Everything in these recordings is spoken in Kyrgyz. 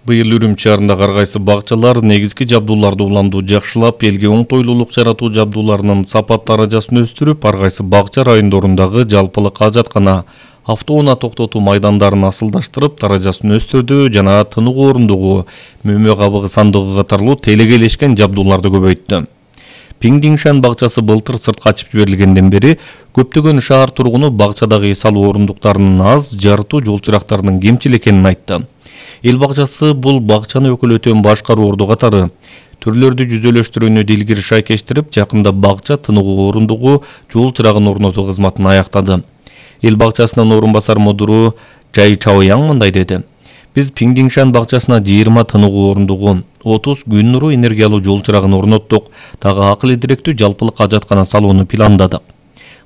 Быйыл Үрүмчү шаарындагы ар кайсы бакчалар негизги жабдууларды уламдуу жакшылап, элге оңтойлуулук жаратуу жабдууларынын сапат даражасын өстүрүп, ар кайсы бакча райондорундагы жалпылык ажаткана, автоунаа токтотуу майдандарын асылдаштырып, даражасын өстүрдү жана тыныгуу орундугу, мөмө кабыгы сандыгы катарлуу телегейлешкен жабдууларды көбөйттү. Пиңдиңшан бакчасы былтыр сыртка ачып жиберилгенден бери көптөгөн шаар тургуну бакчадагы эс алуу орундуктарынын аз, жарытуу жол чырактарынын кемчил экенин айтты. Эл бакчасы бул бакчаны өкүлөтөн башкаруу орду катары түрлөрдү жүзөлөштүрүүнү илгери шайкештирип, жакында бакча тыныгуу орундугу, жол чырагын орнотуу кызматын аяктады. Эл бакчасынын орун басар мудуру Жай Чаояң мындай деди: Биз Пиңдиңшан бакчасына 20 тыныгуу орундугу, 30 күн нуру энергиялуу жол чырагын орноттук, дагы акыл идиректүү жалпылык ажаткана салууну пландадык.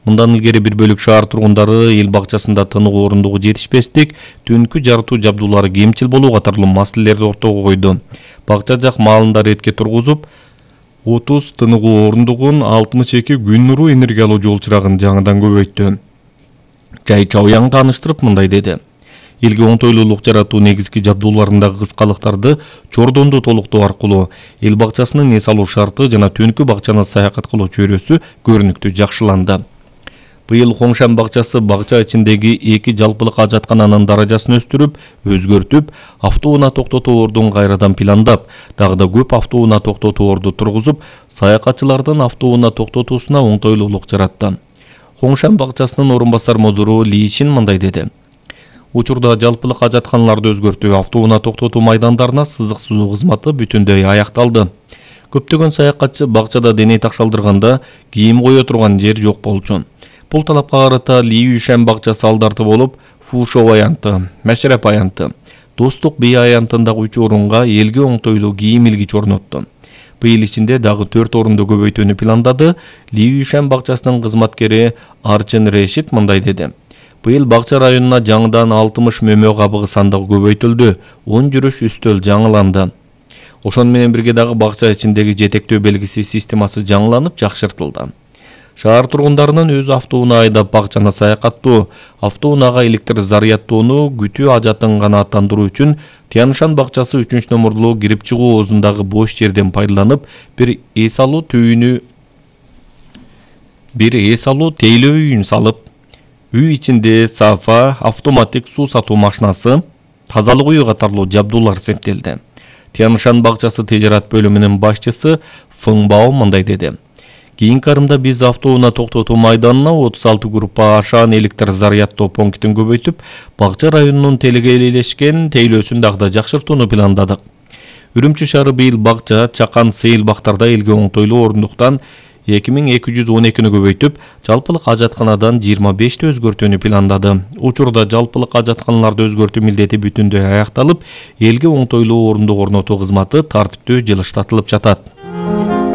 Мындан илгери бир бөлүк шаар тургундары эл бакчасында тыныгуу орундугу жетишпестик, түнкү жарытуу жабдуулары кемчил болуу катарлуу маселелерди ортого койду. Бакча жак маалында ретке тургузуп, 30 тыныгуу орундугун, 62 күн нуру энергиялуу жол чырагын жаңыдан көбөйттү. Жай Чаояң тааныштырып мындай деди: Элге оңтойлуулук жаратуу негизги жабдууларындагы кыскалыктарды чордонду толуктоо аркылуу эл бакчасынын эс алуу шарты жана түнкү бакчаны саякат кылуу чөйрөсү көрүнүктүү жакшыланды. Быйыл Хоңшан бакчасы бакча ичиндеги 2 жалпылык ажаткананын даражасын өстүрүп, өзгөртүп, автоунаа токтотуу ордун кайрадан пландап, дагы да көп автоунаа токтотуу орду тургузуп, саякатчылардын автоунаа токтотуусуна оңтойлуулук жаратты. Хоңшан бакчасынын орун басар мудуру Ли Чин мындай деди: Учурда жалпылык ажатканаларды өзгөртүү, автоунаа токтотуу майдандарына сызык сузуу кызматы бүтүндөй аякталды. Көптөгөн саякатчы бакчада деней такшалдырганда кийим кое турган жер жок болчу. Бул талапка карата Ли Юшан бакчасы алдарты болуп, Фушоу аянты, Машрап аянты, Достук бий аянтындагы 3 орунга элге оңтойлуу кийим илгич орнотту. Быйыл ичинде дагы 4 орунду көбөйтүүнү пландады. Ли Юшан бакчасынын кызматкери Арчын Решит мындай деди: Быйыл бакча районуна жаңыдан 60 мөмө кабыгы сандыгы көбөйтүлдү, 10 жүрүш үстөл жаңыланды. Ошону менен бирге дагы бакча ичиндеги жетектөө белгиси системасы жаңыланып, жакшыртылды. Шаар тургундарынын өз автоунаа айдап бакчаны саякаттоо, автоунаага электр зарядтоону күтүү ажатын гана аттандыруу үчүн Тяншан бакчасы 3-номурлуу кирип чыгуу оозундагы бош жерден пайдаланып, бир эс алуу тейлөө үйүн салып, үй ичинде сафа, автоматик суу сатуу машинасы, тазалык үйү катарлуу жабдуулар септелди. Тяншан бакчасы тижарат бөлүмүнүн башчысы Фың Бао мындай деди: Кийинки арымда биз автоунаа токтотуу майданына 36 группа ашаан электр зарядтоо пунктин көбөйтүп, бакча районунун телегейлешкен тейлөөсүн дагы да жакшыртууну пландадык. Үрүмчү шаары быйыл бакча, чакан, сейил бактарда элге оңтойлуу орундуктан 2212-нү көбөйтүп, жалпылык ажатканадан 25-ти өзгөртүүнү пландады. Учурда жалпылык ажатканаларды өзгөртүү милдети бүтүндөй аякталып, элге оңтойлуу орундук орнотуу кызматы тартиптүү жылыштатылып жатат.